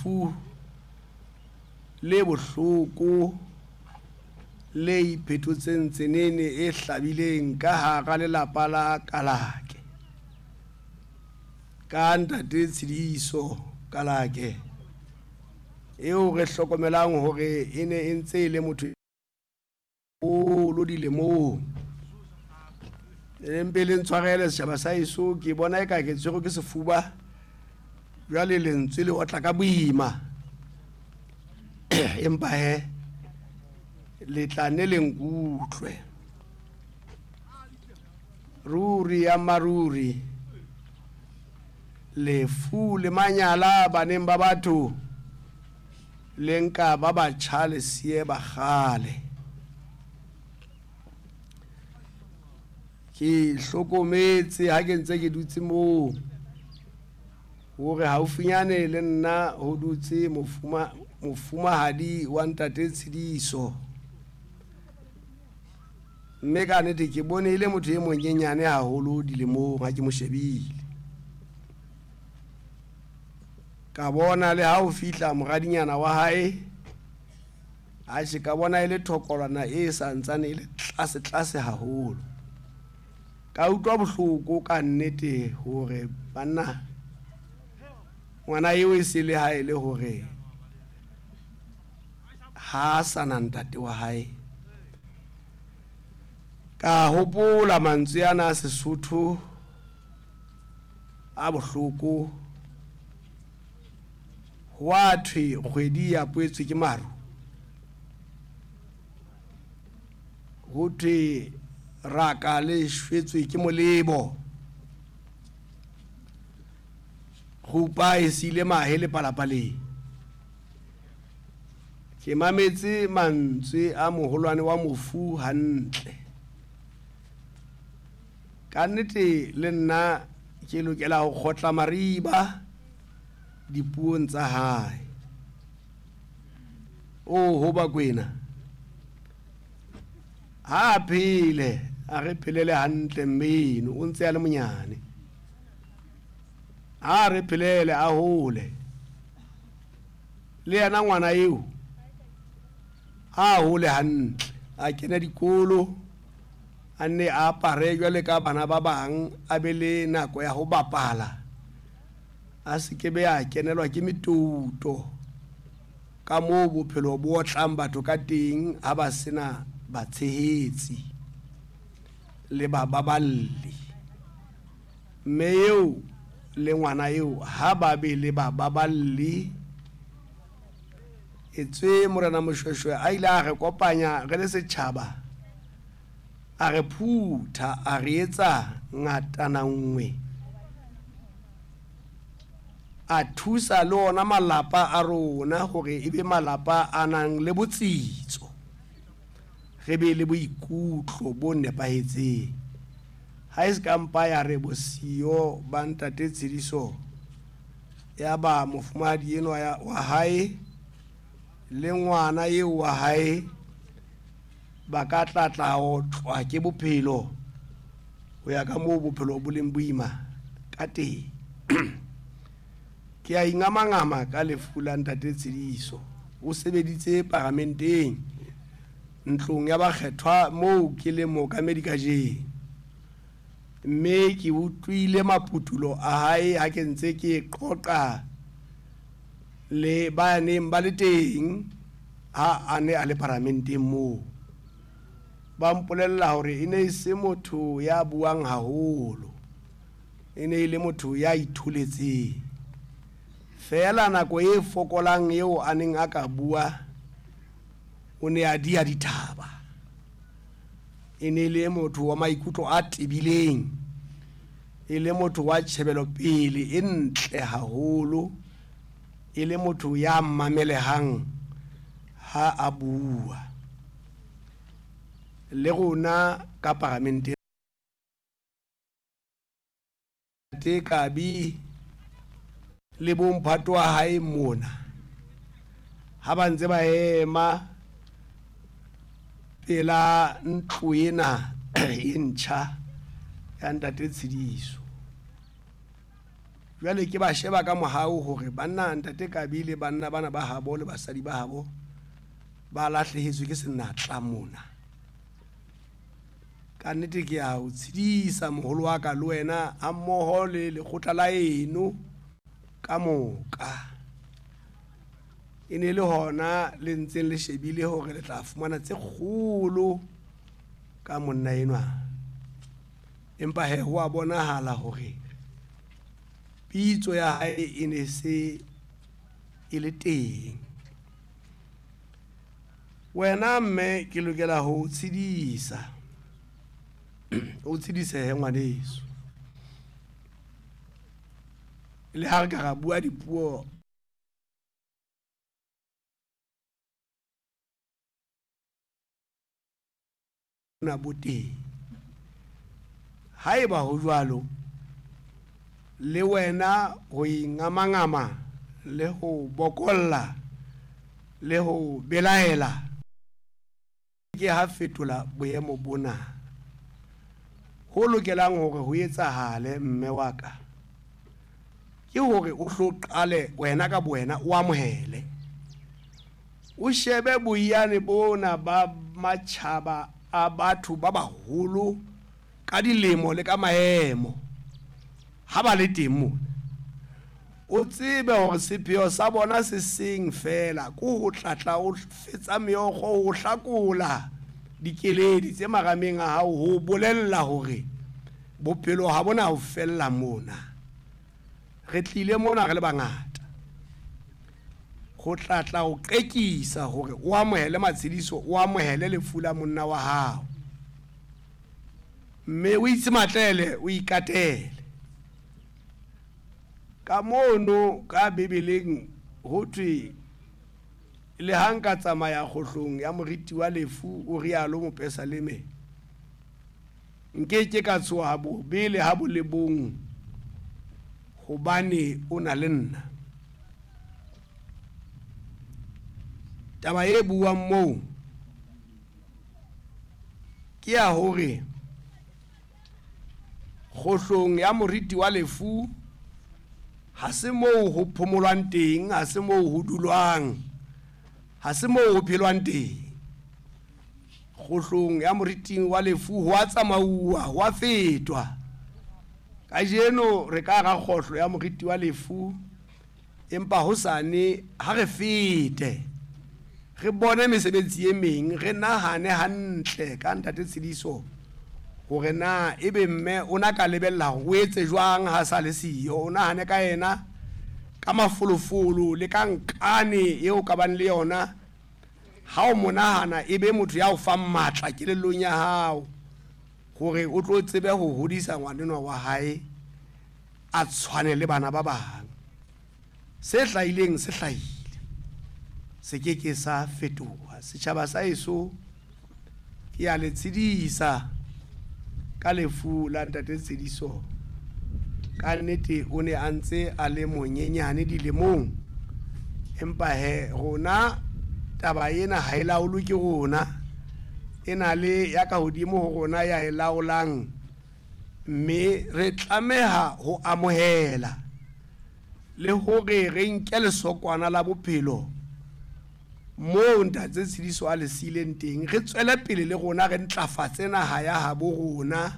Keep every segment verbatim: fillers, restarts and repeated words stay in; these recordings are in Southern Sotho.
Lefu le bohloko le iphetotseng tsenene e hlabileng ka hara lelapa la Kalake. Ka ntate Tshidiso Kalake eo re hlokomelang hore e ne e ntse e le motho holo dilemong. E mpe le ntshwarele setjhaba sa heso, ke bona eka ke tshwerwe ke sefuba jwale lentswe le otla ka boima. Empa he le tla ne le nkutlwe. Ruri ya maruri lefu le manyala baneng ba batho le nka ba batjha le siye ba kgale. Ke hlokometse ha ke ntse ke dutse moo hore haufinyane le nna ho dutse mofuma mofumahadi wa ntate Tshidiso, mme ka nnete ke bone e le motho e monyenyane haholo dilemong ha ke mo shebile. Ka bona le ha o fihla moradinyana wa hae, atjhe ka bona e le thokolwana e santsane e le tlase tlase haholo. Ka utlwa bohloko ka nnete hore banna ngwana eo e se le ha e le hore ha sa na ntate wa hae. Ka hopola mantswe ana a Sesotho a bohloko, ho a thwe kgwedi ya poetswe ke maru, ho thwe raka le shwetswe ke molebo, kgupa e siile mahe le palapaleng. Ke mametse mantswe a moholwane wa mofu hantle. Ka nnete le nna ke lokela ho kgotla mariba dipuong tsa hae. O ho Bakwena ha a phele, a re phelele hantle mmeno o ntse a le monyane. Ha re phelele a hole le yena ngwana eo, a hole hantle, a kene dikolo, a nne a apare jwale ka bana ba bang, a be le nako ya ho bapala, a se ke be a kenelwa ke metouto ka moo bophelo bo otlang batho ka teng ha ba sena batshehetsi le bababalli. Mme eo le ngwana eo ha ba be le bababalli, etswe Morena Moshweshwe a ile a re kopanya re le setjhaba, a re phutha, a re etsa ngatana nngwe, a thusa le ona malapa a rona hore e be malapa a nang le botsitso, re be le boikutlo bo nepahetseng. Ha e se ka mpa ya re bosiyo ba ntate Tshidiso ya ba mofumahadi enwa wa hae le ngwana eo wa hae ba ka tla tla otlwa ke bophelo ho ya ka moo bophelo bo leng boima ka teng. Ke a ingamangama ka lefu la ntate Tshidiso. O sebeditse paramenteng ntlong ya bakgethwa moo ke leng mookamedi kajeno, mme ke utlwile maputulo a hae ha ke ntse ke qoqa le ba neng ba le teng ha a ne a le paramenteng moo. Ba mpolella hore e ne e se motho ya buang haholo, e ne e le motho ya itholetseng feela. Nako e fokolang eo a neng a ka bua, o ne a dia dithaba. E ne e le motho wa maikutlo a tebileng, e le motho wa tjhebelopele e ntle haholo, e le motho ya mamelehang ha a bua. Le rona ka paramenteng Kabi le bomphato wa hae mona ha ba ntse ba ema pela ntlo ena e ntjha ya ntate Tshidiso. Jwale ke ba sheba ka mohau hore banna ntate Kabi le banna bana ba habo le basadi ba habo ba lahlehetswe ke senatla mona. Ka nnete ke a o tshedisa moholo wa ka le wena hammoho le lekgotla la eno ka moka. E ne le hona le ntseng le shebile hore le tla fumana tse kgolo ka monna enwa. Empa he ho a bonahala hore pitso ya hae e ne se e le teng. Wena mme ke lokela ho o tshedisa. O tshedisehe ngwaneso. Le ha re ka ra bua dipuo na bo teng. Haeba ho jwalo, le wena ho ingamangama le ho bokolla le ho belaela ke ha fetola boemo bona. Ho lokelang hore ho etsahale mme wa ka ke hore o hlo qale wena ka bowena o amohele. O shebe boiyane bona ba matjhaba a batho ba baholo ka dilemo le ka maemo ha ba le teng mona. O tsebe hore sepheo sa bona se seng feela ke ho tlatla o fetsa meokgo, ho hlakola dikeledi tse marameng a hao, ho bolella hore bophelo ha bona ho fella mona. Re tlile mona re le bangata ho tlatla o qekisa hore o amohele matshediso, o amohele lefu la monna wa hao, mme o itse matlele o ikatele. Ka mono ka Bibeleng ho thwe le ha nka tsamaya kgohlong ya moriti wa lefu, o rialo mopesaleme, nke ke ka tshoha bobe le ha bo le bong, hobane o na le nna. Taba e buang moo ke ya hore kgohlong ya moriti wa lefu ha se moo ho phomolwang teng, ha se moo ho dulwang, ha se moo ho phelwang teng. Kgohlong ya moriting wa lefu ho a tsamauwa, ho a fetwa. Kajeno re ka hara kgohlo ya moriti wa lefu, empa hosane ha re fete re bone mesebetsi e meng, re nahane hantle ka ntate Tshediso hore na ebe mme o na ka lebella hore o etse jwang ha sa le siyo. O nahane ka yena ka mafolofolo le ka nkane eo ka bang le yona. Ha o mo nahana e be motho ya o fang matla kelellong ya hao hore o tlo tsebe ho hodisa ngwanenwa wa hae a tshwane le bana ba bang. Se hlahileng se hlahile, se ke ke sa fetoha. Setjhaba sa heso ke a le tshedisa ka lefu la ntate Tshediso. Ka nnete o ne a ntse a le monyenyane dilemong, empa he rona taba ena ha e laolwe ke rona, e na le ya ka hodimo ho rona ya e laolang, mme re tlameha ho amohela le hore re nke lesokwana la bophelo moo ntate Tshediso a le siileng teng, re tswele pele le rona re ntlafatse naha ya habo rona,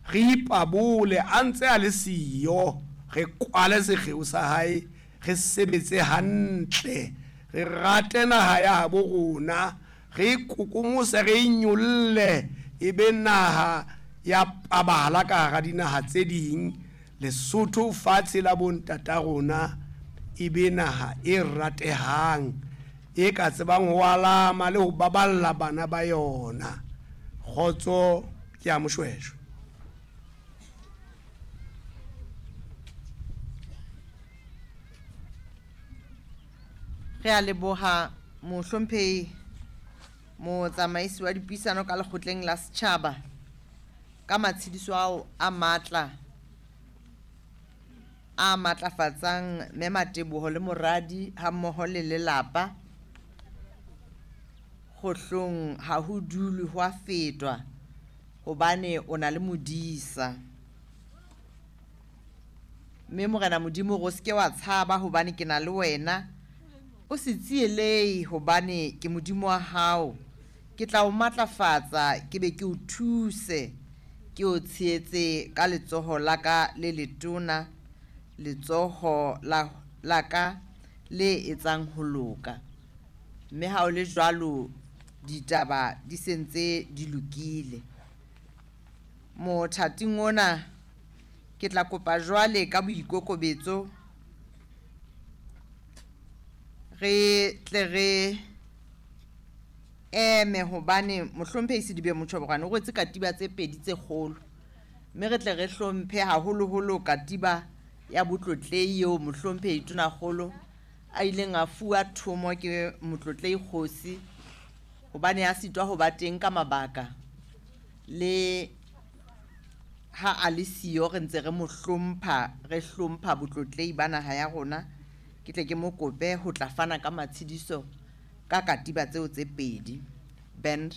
re ipabole a ntse a le siyo, re kwale sekgeo sa hae, re sebetse hantle, re rate naha ya habo rona, re ikokomose, re inyolle e be naha ya pabala ka hara dinaha tse ding. Lesotho fatshe la bontata rona e be naha e ratehang, e ka tsebang ho alama le ho baballa bana ba yona. Kgotso ke ya Moshweshwe. Re a leboha mohlomphehi motsamaisi wa dipuisano ka lekgotleng la setjhaba ka matshediso ao a matla a matlafatsang mme Mateboho le moradi hammoho le lelapa. Kgohlong ha ho dulwe ho a fetwa hobane o na le modisa. Mme Morena Modimo re o seke wa tshaba hobane ke na le wena. O se tsielehe hobane ke Modimo wa hao. Ke tla o matlafatsa, ke be ke o thuse, ke o tshehetse ka letsoho la ka le letona, letsoho la la ka le etsang ho loka. Mme ha o le jwalo ditaba di sentse di lokile. Mothating ona ke tla kopa jwale ka boikokobetso re tle re eme hobane mohlomphehi Sedibe Motjhobokwane o rwetse katiba tse pedi tse kgolo, mme re tle re hlomphe haholoholo katiba ya botlotlehi eo mohlomphehi Tonakgolo a ileng a fuwa thomo ke motlotlehi kgosi hobane a sitwa ho ba teng ka mabaka. Le ha a le siyo re ntse re mo hlompha, re hlompha botlotlehi ba naha ya rona. Ke tle ke mo kope ho tla fana ka matshediso ka katiba tseo tse pedi. Band.